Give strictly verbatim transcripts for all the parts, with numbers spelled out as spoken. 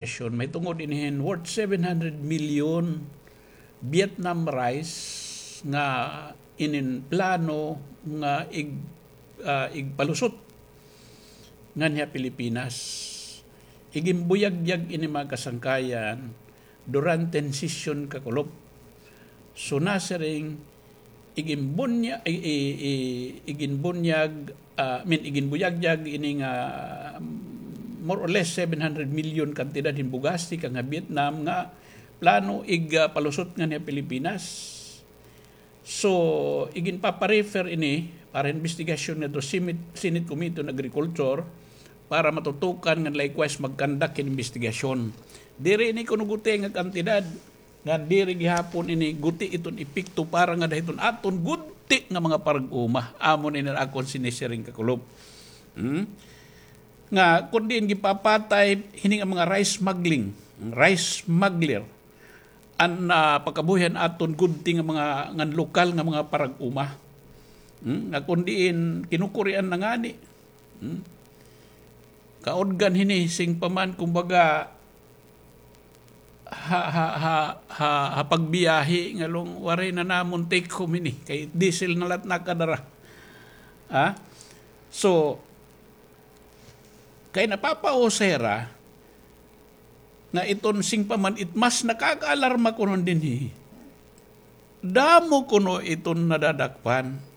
investigation, mahitungod ini hin worth seven hundred million Vietnam rice nga inin plano nga ig-, ah, igpalusot nganhi ha Pilipinas. Iginbuyagyag ini, mga kasangkayan, durante hin sesyon kakulop. So, nasiring, iginbunya-, i-, i-, i-, iginbunyag, ah, I mean, iginbuyagyag ini nga, mm, more or less seven hundred million kantidad hin bugas tikang ha Vietnam nga plano ig, ah, palusot nganhi ha Pilipinas. So, iginpapa-refer ini para investigasyon ngadto Senate, Senate Committee on Agriculture para matutukan nga likewise mag-conduct hin investigasyon. Diri ini kuno guti nga kantidad, ngan diri gihapon ini guti iton epekto para ngada hiton aton gudti nga mga parag-uma. Amo ini an akon sinisiring, kakulop. Hmm? Nga, kun diin gipapatay, hini nga mga rice smuggling, rice smuggler, an, ah, pagkabuhi han aton gudti nga mga, ngan lokal nga mga parag-uma. Hmm? Nga kun diin kinukurian na ngani. Hmm? Kaudgan hini, sing pa man, kumbaga, ha, ha, ha, ha, ha pagbiyahe, nga long, waray na namon take home hini, kay diesel na la it nakadara. Ha? So, kay napapausay ra nga iton sing pa man it mas nakakaalarma kuno dinhi. Damo kuno iton nadadakpan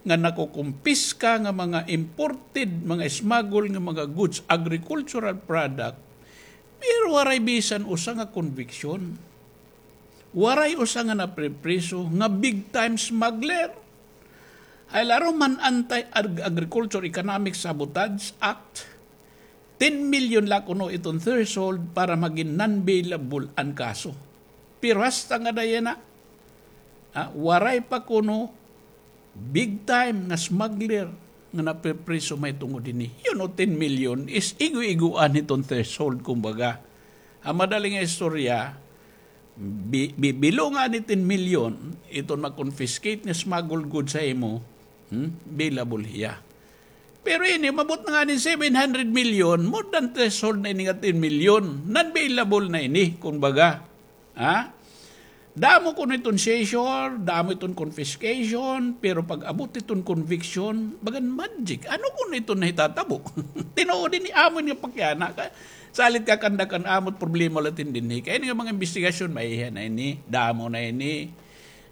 nga nakukumpiska nga mga imported, mga smuggle nga mga goods, agricultural product, pero waray bisan usa nga conviction. Waray usa nga napripriso nga big time smuggler. Hay laro man Anti-Ag-, Agriculture Economic Sabotage Act, ten million la kuno iton threshold para magin non-bailable an kaso. Pero hasta ngada yana, ah, waray pa kuno big time nga smuggler nga napipriso mahitungod hini. You know, ten million is igo-igoan hiton threshold, kumbaga. Ha madali nga istorya, bi-, bi-, bilo ngani ten million, iton ma-confiscate nga smuggled goods ha imo, hmm, bailable hiya. Pero ini, umabot na ngani seven hundred million, more than threshold na ini nga ten million. Non-bailable na ini, kumbaga. Ha? Damo kuno iton seizure, damo iton confiscation, pero pag-abot iton conviction, bagan magic. Ano kuno iton nahitatabo? Tinuod ini, amo ini nga pakiana. Ka-, salit ka kanda kan amot problema la iton dinhi. Kay ini nga mga investigasyon, maiha na ini, damo na ini.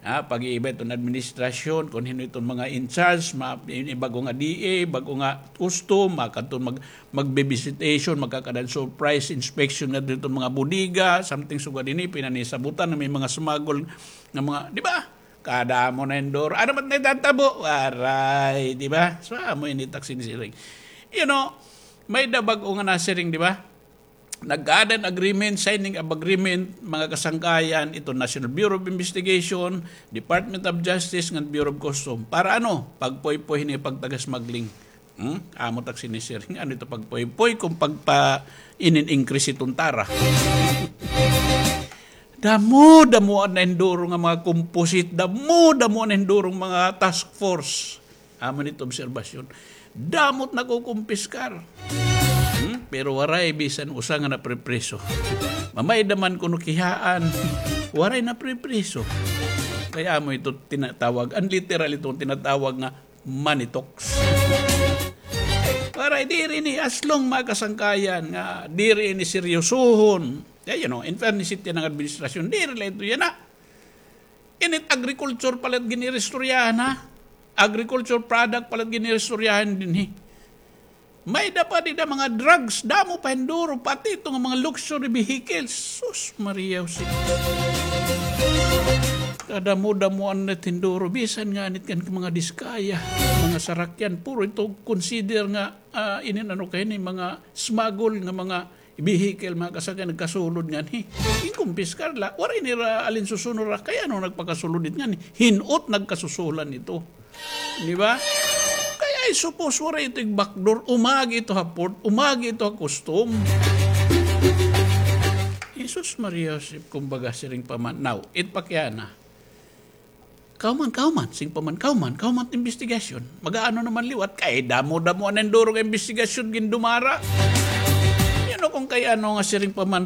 Ha, pag-iiba iton administrasyon, kun hin-o iton mga in charge, ma-, ini bag-o nga D A, bag-o nga custom, makadto mag-, magbe-visitation, magkakadan surprise inspection ngadto hiton mga bodega, something sugad ini, pinanisabutan nga may mga smuggle nga mga, di ba? Kadamo na hin duro. Ano man nahitatabo? Waray, di ba? So, amo ini it ak sinisiring. You know, may-ada bag-o nga nasiring, di ba? Nagkaada hin agreement, signing of agreement, mga kasangkayan, iton National Bureau of Investigation, Department of Justice, ngan Bureau of Custom. Para ano? Pagpuypoy hini pagtaga-smuggling. Hmm? Amo it ak sinisiring. Ano ito pagpuypoy kun pagpa-inin-increase iton tara? Damo-damoan na hin duro nga mga composite, damo-damoan na hin duro nga mga task force. Amo ini it obserbasyon. Damo it nakukumpiskar. Hmm? Pero waray bisan usa nga napripriso. Mamayda man kuno kihaan, waray napripriso. Kay amo ito tinatawag, an literal ito tinatawag nga money talks. Waray, diri ini, as long, mga kasangkayan, nga diri ini seryosohon. Eh, you know, in fairness, it yana nga administrasyon, diri la ito yana. Init agriculture pa la it gin-iristoryahan, ha? Agriculture product pa la it gin-iristoryahan dinhi. May-ada pa dida mga drugs, damo pa hin duro, pati ito nga mga luxury vehicles. Sus, Maria Jose. Kadamo-damoan na it hin duro, bisan ngani it kan mga Diskaya, mga sarakyan, puro ito consider nga, ah, inin ano kay ini, mga smuggle nga mga vehicle, mga kasakay, nagkasulod ngani. Ginkumpiskar la, waray nira alinsusuno ra, kay ano nagpakasulod it ngani? Hin-o it nagkasusulan ito. Di ba? Kay ay suppose, waray ito ig-backdoor, umagi ito ha port, umagi ito ha custom. Jesus Maria Joseph, kumbaga, siring pa man. Now, it pakiana. Kahuman, kahuman, sing pa man, kahuman, kahuman it investigasyon. Mag-aano naman liwat, kay damo-damo na hin duro nga investigasyon gindumara. Yan, Ano kon kay ano nga siring pa man